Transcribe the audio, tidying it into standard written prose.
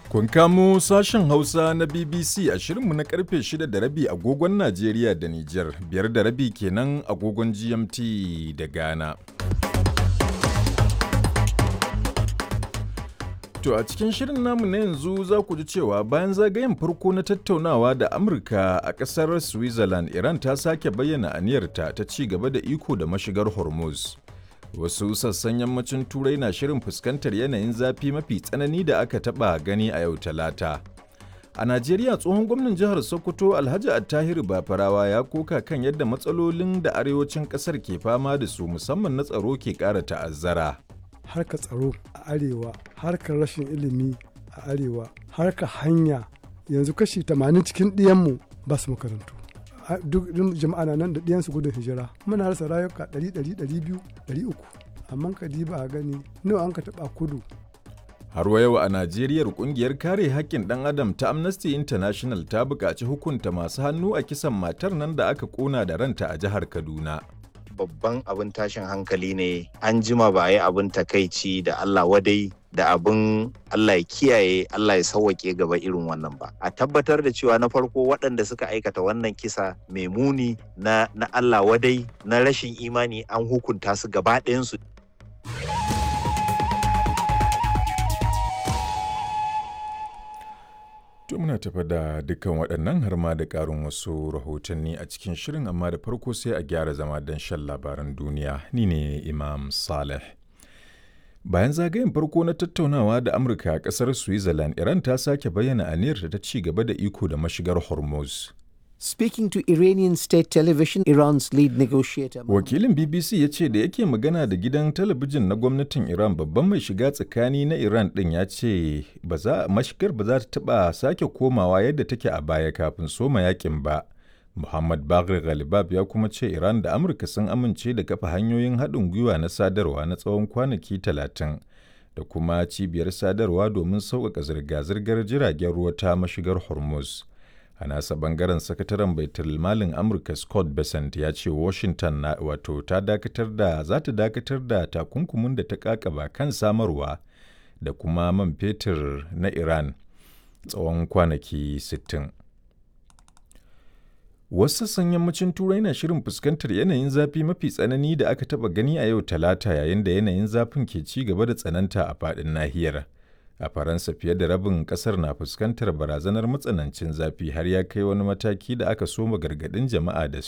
Kun kamo sashen Hausa na BBC a shirinmu na karfe 6 da rabi agogon Najeriya da Nijar, 5:30 kenan agogon GMT da Ghana. To a cikin shirin namu na yanzu za ku ji cewa bayan zagayen farko na tattaunawa da Amurka a ƙasar Switzerland, Iran ta sake bayyana aniyarta ta ci gaba da iko da mashigar Hormuz. Wasu sassan yammacin Turai na shirin fuskantar yanayin zafi mafi tsanani da aka taɓa gani a yau Talata. A Najeriya, tsohon gwamnan jihar Sokoto Alhaji Attahiru Bafarawa ya koka kan yadda matsalolin da arewacin ƙasar ke fama da su, musamman na tsaro, ke ƙara ta'azzara. Harkar tsaro a arewa, harkar rashin ilimi a arewa, harkar hanya, yanzu kashi 80 cikin ɗiyanmu ba su makarantu. Duk jama'a na nan da ɗiyansu gudun hijira, muna rasa rayuka 100, 200, 300, amma ka diba a gani nawa an ka taɓa kudu. Har wa yau a Najeriya, kungiyar kare haƙƙin ɗan adam ta Amnesty International ta buƙaci hukunta masu hannu a kisan matar nan da aka ƙona da ranta a jihar Kaduna. Babban abin tashin hankali ne, an jima ba a yi abin takaici da Allah wadai da abin Allah ya kiyaye, Allah ya sauwaƙe gaba irin wannan ba. A tabbatar da cewa na farko waɗanda suka aikata wannan kisa mai muni na Allah wadai na rashin imani an hukunta su gaba ɗayansu. To muna tafa da dukkan waɗannan har ma da ƙarin wasu rahotanni a cikin shirin, amma da farko sai a gyara zama don shan labaran duniya. Ni ne Imam Saleh. Bayan zagayen farko na tattaunawa da Amurka a ƙasar Switzerland, Iran ta sake bayyana aniyarta ta ci gaba da iko da mashigar Hormuz. Speaking to Iranian state television, Iran's lead negotiator. Wakilin BBC ya ce da yake magana da gidan talabijin na gwamnatin Iran, babban mai shiga tsakani na Iran ɗin ya ce mashigar ba za ta taɓa sake komawa yadda take a baya kafin soma yakin ba. Muhammad Bagher Ghalibab ya kuma ce Iran da Amurka sun amince da kafa hanyoyin haɗin gwiwa na sadarwa na tsawon kwanaki 30 da kuma cibiyar sadarwa domin sauƙaƙa zirga-zirgar jiragen ruwa ta mashigar Hormuz. A nasa bangaren, sakataren baitul malin Amurka Scott Bessent ya ce Washington na wato ta dakatar da za ta dakatar da takunkumin da ta kakaba kan samarwa da kuma man fetur na Iran tsawon kwanaki 60. Wasu sassan yammacin Turai na shirin fuskantar yanayin zafi mafi tsanani da aka taba gani a yau Talata, yayin da yanayin zafin ke ci gaba da tsananta a faɗin nahiyar. A Faransa, fiye da rabin kasar na fuskantar barazanar matsanancin zafi, har ya kai wani mataki da aka soma gargaɗin jama'a da